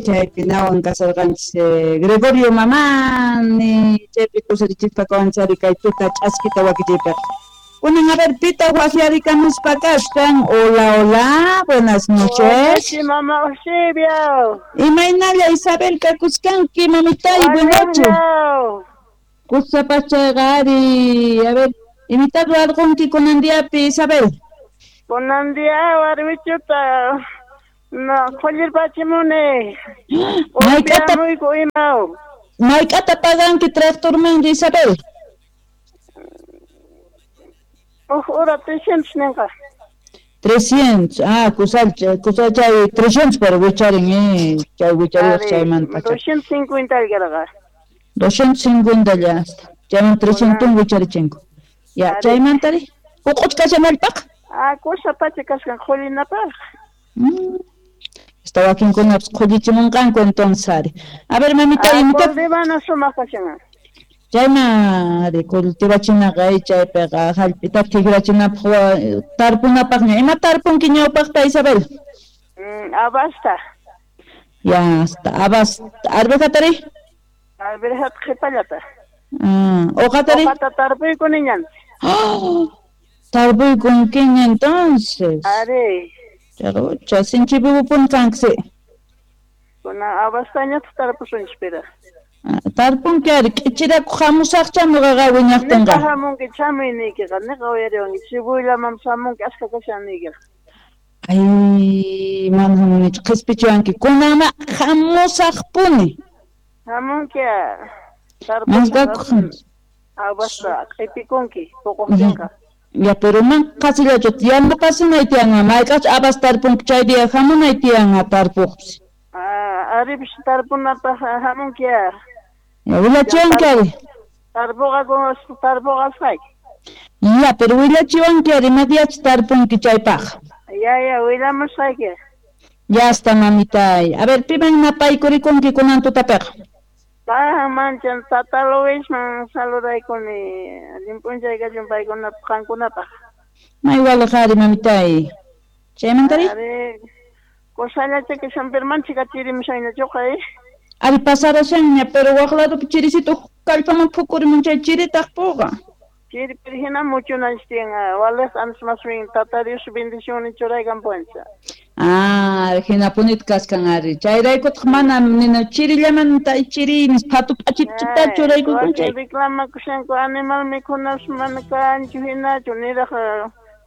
Chaypi nawan kasarqanchis Gregorio Mamani, chaypi kusirichispa kawanchari kay tuta ch'askita wakichiypiqa. Kunan a ver, pita waqyarikamuspa kachkan. Hola, hola, buenas noches. Hola, mamá Eusebio. Imaynalla Isabel kakuskanki, mamitay, buenas noches. Kusapachayqa ari, a ver, imita ruwarqunki kunan diapi, Isabel? Kunan dia warmichuta no qhullirpachimuni. Mayk'ata imaw. Mayk'ata paganki tractorman, Isabel? Huk hora 300 ninqa. 300, ah, kusal chay 300 pero wicharin, chay wichariq chaymanta. 250 karqa. 250 ya, chayman 300 wicharichinko. Ya, chaymantari puq'uchkashan allpaqa? Ah, kusa pacha kaskan qhullinapaq. Esta wakinkunapas qhullichimunqanku entonces ari. A ver, mamita, imita cultivana sumaq kashan. Chayman ari cultivachinaqa chaypiqa hallp'ita tikrachinapaq tarpunapaqña. Ima tarpunki ñawpaqta, Isabel? Abasta. Ya, hasta abasta. Arvejatari? Arvejata qhipallata. Ah, uqatari? Uqata tarpuykuniñan. Tarpuykunkiña entonces. Ari. Charucha, sinchi vivopun kanki. Kunan abastañataq tarpusunchis pira. Tarpunki ari, k'ichirakuq hamusaqcha ñuqaqa wiñaqtinqa. Niqa hamunki chamuy niykiqa, niqa uyariwanki, cebollaman hamunki askha kashan niykiqa. Ay, mana hamunichu, qhispichiwanki. Kunanma hamusaqpuni. Hamunki, tarpusun. Abasta q'ipikunki puquqtinqa. Ya, pero man qhasillachu yanapasunay tiyanqa, mayk'aqchu abas tarpunki chay día hamunay tiyanqa tarpuqpis. Ah, aripis tarpunapaq hamunki. Ya, willachiwanki ari. Tarpuqasqayki. Ya, pero willachiwanki ari, ima diachu tarpunki chaypaq. Ya, ya, willamusqayki. Ya está, mamitay. A ver, piman napaykurikunki kunan tutapiqa? Pajan manchan tata Luisman saludaykuni, allin p'unchay kachun paykunapaq qankunapaq. May waliq ari, mamitay. Chaymantari? Ari, kusallacha kashan, pero manchika chirimushanñachuqa, Ari pasarashanña, pero waq ladopi chirisito kallpaman phukurimun chay chiritaq puqa. Chiri pero hina muchunanchis tiyan, waliq antes más bien tata Dios bendición churaykampuwanchis. Ah, hinapunita kaskan ari. Chayraykutaq mana nina chirillamanta chiri nispa phatu p'achita churaykukun chay. Reclamakushanku animal mikhunas mana kanchu hinachu niraq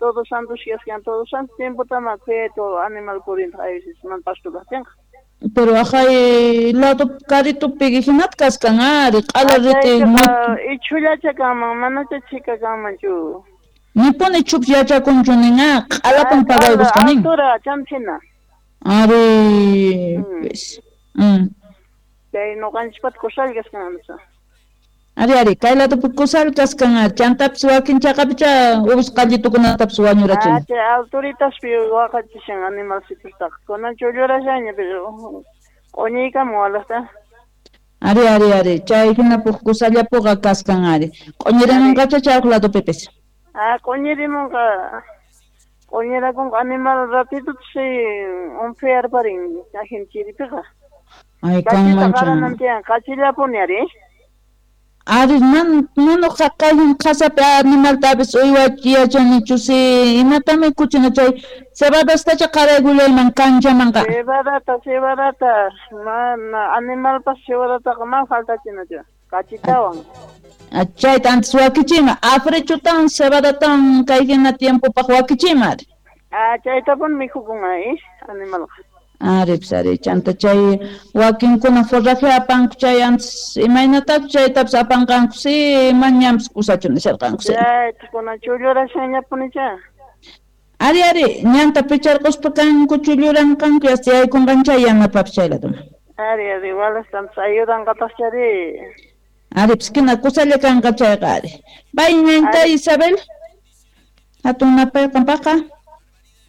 Todos Santos kaskan, Todos Santos tiempotama khuyaytu animal purintaq a veces mana pasto kaqtinqa. Pero ajay lado carritopi hinata kaskan ari, q'ala riti ichhullacha kanman, manacha chhika kanmanchu. Nipuni chup yachakunchu nin, q'alapun pagaykusqa nin. Altura chanchina. Ari, pues. Chay ñuqanchispata kusal kaskan ancha. Ari, ari, kay ladopi kusal kaskan, chantapis wakin chaqapicha ubis qallitukunatapis wañurachin. Ah, chay altoritaspi waqachishan animalcitostaqa. Kunan chullurashanña, pero q'uñiykamun walaqta. Ari, ari, ari, chay hinapuq kusallapuqa kaskan ari. Q'uñirimunqacha chay huk ladopipis. Ah, q'uñirimunqa, q'uñirakunqa animal ratito si unphiyarparin ajin chiripiqa. Ay, kanmancha. Tiyan, qachillapuni ari. Ari, man, manuqa kay qhasapi animaltapis uywachi yachanichu si imatami kuchina chay cebadastacha qaraykullayman kanchamanqa. Cebadata, cebadata, mana animalpas cebadataqa mana faltachinachu, kachitawan. Chayta antes wakichima, africhutawan cebadatawan kay hina tiempopaq wakichima ari. Ah, chaytapuni mikhukunqa, animalqa. Ari, pues ari, chanta chay wakinkuna forraje apanku chay antes imaynatachu chaytapas apanqanku si mañanpas kusachu nisharqanku si. Chayta kunan chullurashanñapunicha. Ari, ari, ñanta picharquspa kanku chulluranqanku hasta yaykunqan chay yanapapis chay ladoman. Ari, ari, walaqtantas ayudanqataq chari. Ari, pues kina kusalla kanqa chayqa ari. Bay ñanta Isabel, hatun napay qampaqa.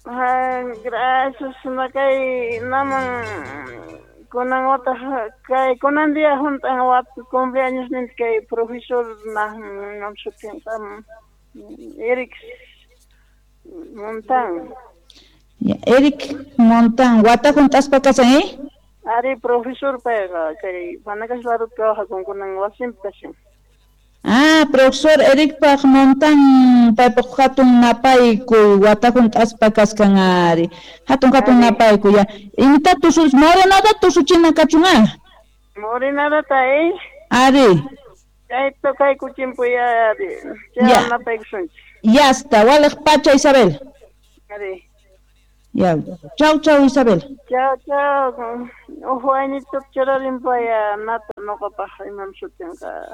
Ah, gracias, nakay naman kunan wata kay kunan día juntan wat cumpleaños nin kay profesor na nam sutin tam Eric Montan. Ya, Eric Montan, wata junt'aspa kasan, eh? Ari profesor payqa kay Panacash ladopi trabajakun kunan wasinpi kashan. Ah, profesor Ericpaq Montan paypaq hatun napaykuy wata junt'aspa kaskan ari. Hatun hatun napaykuy ya. Imata tusus morenada tusuchina kachun ah. Morenadata, eh? Ari. Chayta kay kuchimpuy ari. Chay napaykusunchik. Ya está, waliq pacha Isabel. Ari. Ya, chau chau Isabel. Chau chau. Uhu aynito churarinpaya nata noqapaq imam sutinqa.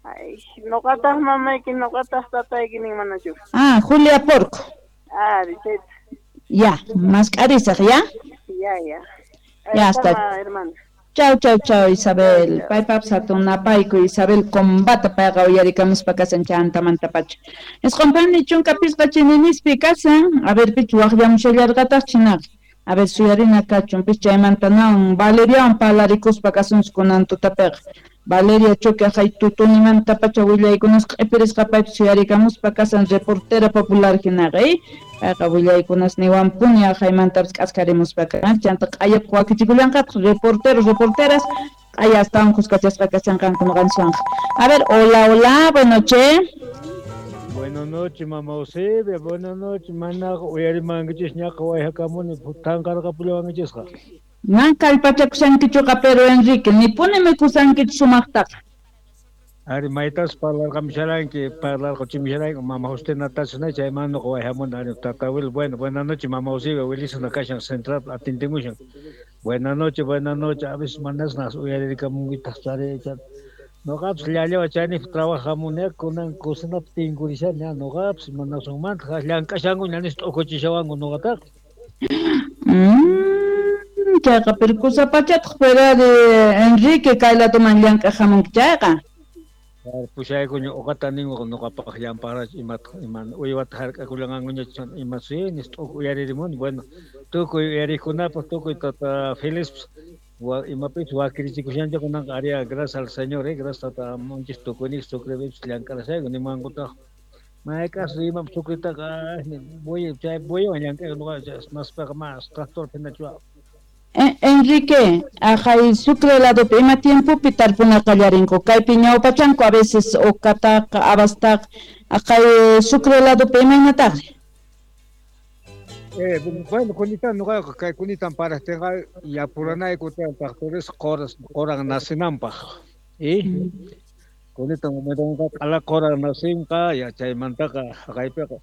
Ay, noqataq mamayki, noqataq tatayki nin manachu. Ah, Julia Porco. Ari, chayta. Ya, mask'arisaq, ya? Ya, ya. Ya está. Hermana. Chau, chau, chau, Isabel. Paypapas hatun napaykuy Isabel combata payqa uyarikamuspa kasan chantamanta pacha. Isqunpani chunka pisqa chininispi kasan. A ver, pichu waqllamushallarqataq chinaqa. A ver, suyarina kachun pis chaymanta nawan Valeriawan parlarikuspa kasunchik kunan tutapiqa. Valeria Choque aqhay tutunimanta pacha willaykunas q'ipirisqa paypis suyarikamuspa kasan reportera popular hinaqa, eh? Payqa willaykunas niwanpuni aqhaymantapis k'askarimuspa kan. Chanta q'ayapaq wakichikullanqataq reporteros, reporteras q'aya astawan kuskachasqa kashanqanku noqanchikwanqa. A ver, hola, hola, buenas noches. Buenas noches, mamá Eusebia, buenas noches, manaqa uyarimankichis ñaqa wayhakamuni thankarqapullawankichisqa. Man kallpachakushankichuqa, pero Enrique, nipuni mikusankichu sumaqtaqa. Ari maytas parlarqamisharanki, parlarquchimisharanki, mamá Justina Natasha chayman noqa wayhamuni ari tata Wil, bueno, buenas noches, mamá Eusebia, Wilson kashan central atintimushan. Buenas noches, a veces manasnas uyarikamunkitaq chari noqapis llallawa chayniq trabajamunia kunan cocinapi tinkurishani noqapis manasunmanta llank'ashankuña nispa t'ukuchishawanku noqataqa. Chayqa pero kusapachataq pero ari Enrique kay ladoman llank'aq hamunki chayqa. Pushaykuña uqata ninkuqa noqapaq llamparachu imata ima uywata hark'akullanqankuña ima sí nispa uyaririmuni. Bueno, tukuy uyariqkunapaq tukuy tata Feliz imapis wakirichikushanchik kunanqa aria gracias al Señor, gracias tata munchis tukuyniq sucrepipis llank'arashayku nimankutaq mayk'as imam sucretaqa buey chay buywan llank'ayku noqa maspaqa mas tractor hinachu. Enrique, aqhay Sucre ladopi ima tiempopi tarpuna qallarinku kaypi ñawpachanku a veces uqataqa abastaqa aqhay Sucre ladopi imaynataqri? Bueno, kunitan noqaqa kay kunitan paraqtinqa yapuranayku tractores qoran nacinanpaq. Kunitan umaytanqa q'ala qoran nacinqa ya chaymantaqa haqaypiqa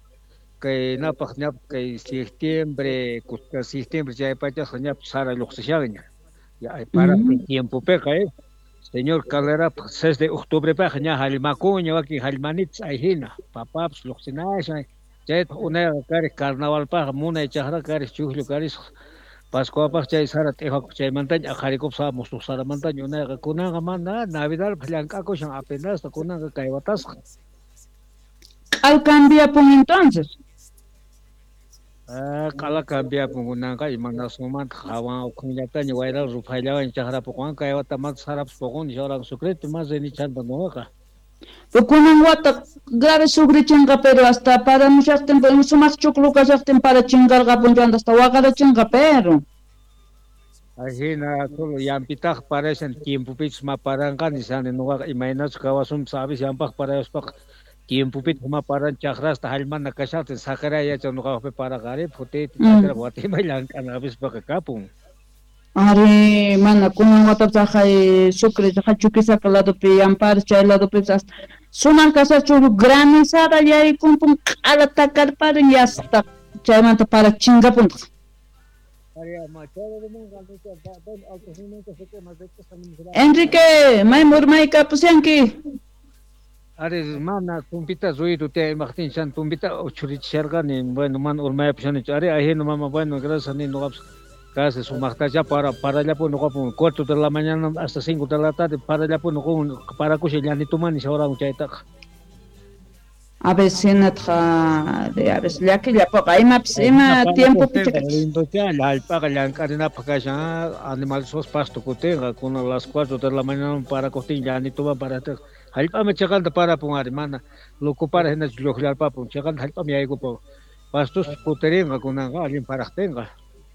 kay napaq ñap kay septiembre kuska septiembre chay pachasqa ñap sara lluqsishanña. Ya paraqtin tiempopiqa señor Calderapaq 6 de octubrepaq ña hallmakunña wakin hallmanitas ayhina papapas lluqsinashan. Chayta unayqa kari carnavalpaq munay chaqra kari chuqllu karisqa Pascuapaq chay sara t'ifakuq chaymantaña aqharikup musuq saramantaña unayqa kunanqa mana Navidadpaq llank'akushan apenasta kunanqa kay watasqa. Q'al cambiapun entonces. Q'ala cambiapun kunanqa imanasunmanta hawan ukhunllataña wayra rupayllawan chaqra puqun kay wata mana sarapas puqun nishawaran Sucrepi mas rinichanta nuqaqa. Kunan wata grave sufrichinqa pero hasta paramushaqtin sumaq chuklu kashaqtin para chinkarqapun hasta waqarachinqa pero. Ahina solo yampitaq parashan tiempopichus ma paranqa nishani nuqaqa imaynachu kawasunpis a veces yampaq parayuspaq tiempopitaq ma paran chaqrasta hallmana kashaqtin saqiraya yachan nuqaqpi paraqa ari phutiyta chaqra watimay llank'ana a veces kapun. Ari mana kunan watapas aqhay Sucre Chuquisaca ladopi yampar chay ladopi hasta sumaq kashachu granizada yaykunpun q'ala takarparin yasta chaymanta para chinkapuntaq. Enrique, may murmaykapushanki. Ari mana tumpita ruido te imaqtin chan tumpita uchurichisharqani bueno mana urmayapusanichu ari ahina mama bueno gracias ni nuqapas casi sumaqtacha parallapu nuqapun 4 de la mañana hasta 5 de la tarde parallapu nuqun parakusha llanitumani shawaranku chaytaqa. A veces hinatqa de a veces llakillapuqa imapis ima tiempopi lindocha llallpaqa llank'arinapaq kashan animales pasto kutinqa kunan las 4 de la mañana parakuqtin llanituman paratiqa hallp'ami chaqanta parapun ari mana loco para hinachu lluqllarpapun chaqanta hallp'ami yaykupun. Pastos kutirinqa kunanqa allin paraqtinqa.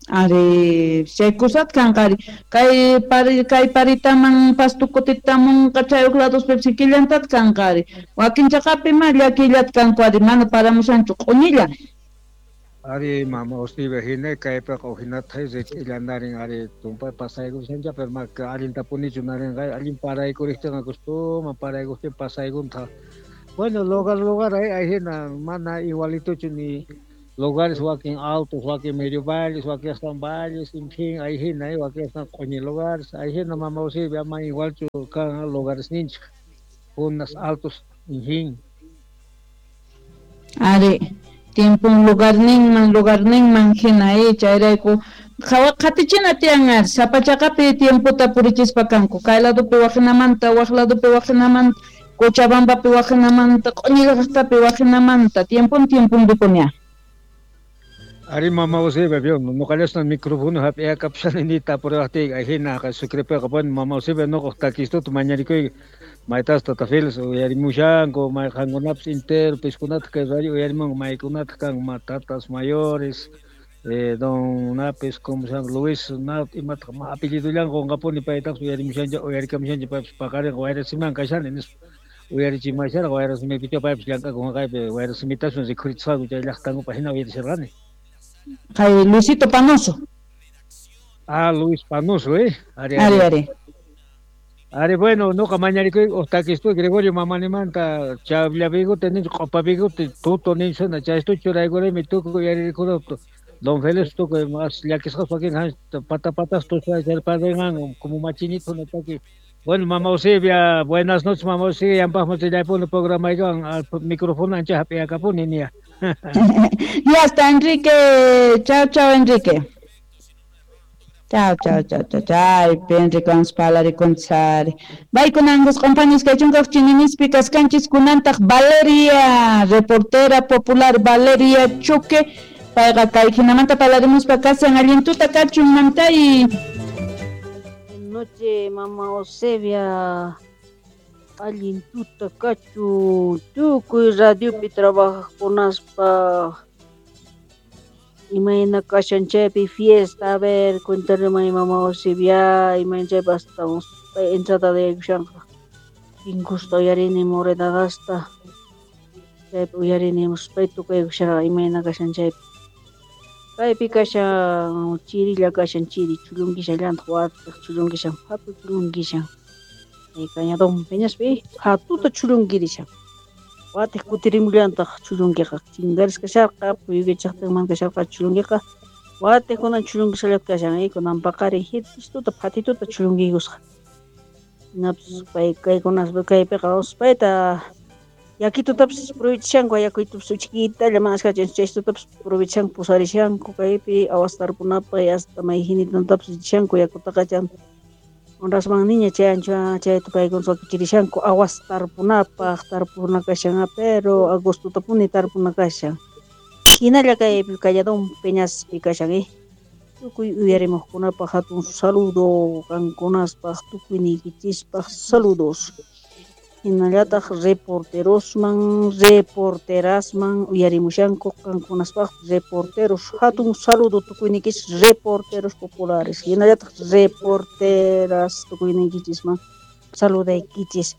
Ari, chay kusat kanqa ari. Kay paritaman pasto kutitamunqa chay huk ladospipis killantat kanqa ari. Wakin chaqapi ma llakillat kanku ari, mana paramushanchu q'uñilla. Ari, mama Eusebia hina kaypiqa uhinata rit'illanarin ari tumpa pasaykushancha, pero ma allintapunichu narinqa, allin paraykuriktinqa kustuman paraykuqtin pasaykuntaq. Bueno, lugar ay hina mana igualituchu ni lugares wakin altos, wakin medio valles, wakin están valles, en fin, ay hina, wakin están q'uñi lugares, ay hina mama Eusebia ama igualchu kan lugares ninchik, unas altos, en fin. Ari, tiempon lugarninman hina chayrayku qhatichina tiyan ari, sapachaqapi tiempota purichispa kanku, kay ladopi waqinamanta, waq ladopi waqinamanta, Cochabambapi waqinamanta, q'uñi llaqtapi waqinamanta, tiempon tiemponpipunia. Ari mama Eusebia, vio, noqallasna micrófono hap'iyakapusani ni tapuriwaqtiyki, ay hina Sucrepiqa, bueno, mama Eusebia noqaq takistuta mañarikuyki, maytas tata Félix uyarimushanku, mayqankunapis entero piskunata kay radio uyarimunku, maykunataq kan ma tatas mayores, don napis, como se llama, Luis, na, imataq, ma apellidullanqa qunqapuni paytapis uyarimushancha, uyarikamushancha, paypis paqarinqa wayrasiman kashani nispa. Uyarichimasharqa wayrasimipicha paypis llank'akun kaypi wayrasimitaswan rikhurichisqaku chay llaqtankupa hina uyarisharqani. Kay Luisito Panoso. Ah, Luis Panoso, Ari, ari, ari. Ari, bueno, noqa mañarikuy uqtakistu Gregorio mamanimanta chablla bigote ninchu, q'upa bigote, tuto ninchu, chaystu churaykurimi tukuy uyaririkunato. Don Félix tukuy mas llakisqas wakin pata patas tusay charparinqan como machinito no taki. Bueno, mama Eusebia, buenas noches, mama Eusebia, yampaqman chaypuni programaykiwan micrófono ancha hap'iyakapuni niya. Ya está, Enrique. Chao, chao, Enrique. Chao, chao, chao, chao, chao. Enrique vamos palarikuntsari. Baykunangus compañeros kay chunkaq chininispi kaskanchis kunantaq Valeria, reportera popular Valeria Choque. Payqa kay hinamanta palarimuspa kasan allin tuta kachun mamtay. Noche, mama Eusebia, allin tuta kachun, tukuy radiopi trabajaqkunaspa imayna kashan chaypi fiesta, a ver, cuéntame mama Eusebia, imayna chaypi hasta entrada de yaykushanqa, inkusta uyarini morenadasta, chaypi uyarini pay tukaykusharqa imayna kashan chaypi. Kaypi kashan chirilla kashan chiri chullunkishallantaq watiq chullunkishan phatu chullunkishan cañadón peñaspi phatuta chullunkirisham watiq kutirimullantaq chullunkiqa chinkarisqa kasharqa puyukichaqtinman kasharqa chullunkiqa watiq kunan chullunkishallat kashan kunan paqarin hituta phatituta chullunkiykusqa hinapis pay kaykunaspa kaypiqa payta yakitutapis provechanku yakuytupis uchkitalla mana ashkachu chaystutapis provechanku pusarishanku kaypi awas tarpunapaq hasta mayhinitantapis richanku yakutaqa chan unrasman niña chayanchu chayta paykuna wakichirishanku awas tarpunapaq tarpuna kashan pero agostotapuni tarpuna kashan hinalla kaypi Calladón Peñaspi kashan tukuy uyarimuqkunapaq hatun saludo qankunaspaq tukuyniykichispaq saludos. Hinallataq reporterosman, reporterasman uyarimushanku qankunaspaq reporteros, hatun saludo tukuynikichis reporteros populares, hinallataq reporteras tukuyniykichisman saludaykichis.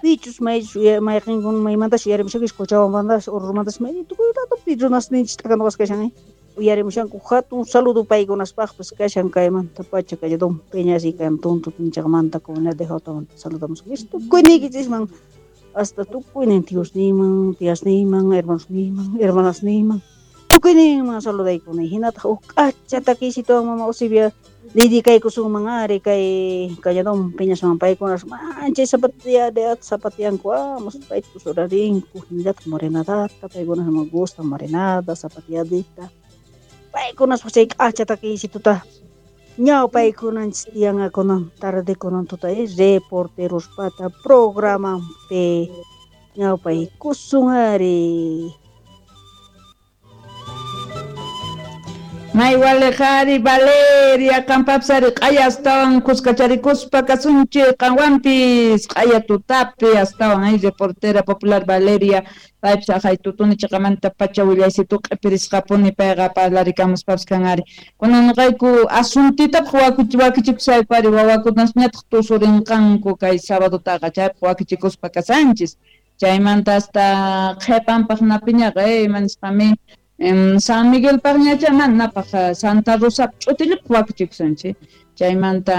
Pichus maychus mayqinkuna maymantas uyarimushankichis Cochabambamantas Oruromantas may tukuy latopi runasninchis t'aqanasqa kashan uyarimushanku hatun saludo paykunaspaqpis kashan kaymanta pacha Calladón Peñas y kay Tuntu Tinchaqmanta comunidad de Jotamanta saludamos tukuyniykichisman hasta tukuynin tíosniyman, tíasniyman, hermanosniyman, hermanasniyman tukuyninman saludaykuni hinataq huk k'acha takisituwan mama Eusebia dedicaykusunman ari kay Calladón Peñasman paykunas manchay zapatianku amos paytus urarinku hinallataq morenadata paykunas me gusta morenada zapateadita paykunaspaq chay k'acha takisituta ñawpaykunanchis tiyanqa kunan tarde kunan tuta reporterospata programanpi ñawpaykusun ari. May walejari Valeria qampapis ari q'aya astawan kuskacharikuspa kasunchik qanwanpis q'aya tutapi astawan ay reportera popular Valeria paypis aqhay tutuni chiqamanta pacha willaysitu q'ipirisqapuni payqa parlarikamuspapis kan ari. Kunan nuqayku asuntitapaq wakichikusayku ari wawakunasñataq tusurinqanku kay sabadotaqa chaypaq wakichikuspa kasanchis. Chaymanta hasta qhipanpaq napiñaqa ima nisqami San Miguel paqñacha mana napaq Santa Rosa ch'utillapaq wakichikusanchik. Chaymanta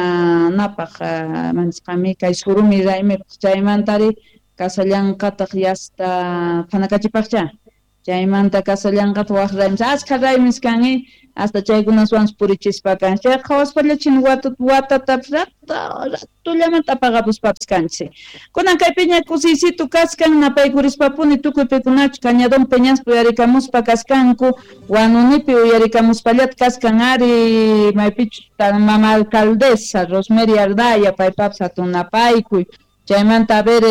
napaq manisqami kay surumi raymipaq chaymantari kasallanqataq yasta phanakachipaqcha. Chaymanta kasallanqataq waq raymis askha raymis kan hasta chaykunaswanpas purichispa kan. Chay qhawaspallachin watatapis ratullamanta apaqapuspapis kanchik. Kunan kaypiña kusiysitu kaskan napaykurishpapuni tukuy pikunachu Cañadón Peñaspa uyarikamuspa kaskanku Wanunipi uyarikamuspallata kaskan ari maypichu mama alcaldesa Rosemary Ardaya paypapis hatun napaykuy. Chaymanta a ver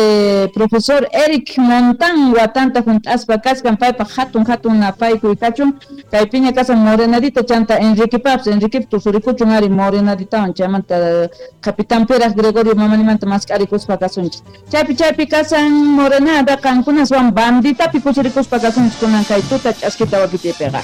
profesor Eric Montán watanta junt'aspa kaskan paypaq hatun hatun napaykuy kachun kaypiña kasan Morenadita chanta Enriquepapas Enriquep tusurikuchun ari Morenaditawan chaymanta Capitán Pérez Gregorio mamanimanta mask'arikuspa kasunchik. Chaypi chaypi kasan Morenada qankunaswan banditapi kusirikuspa kasunchik kunan kay tuta ch'askita wakichiypiqa.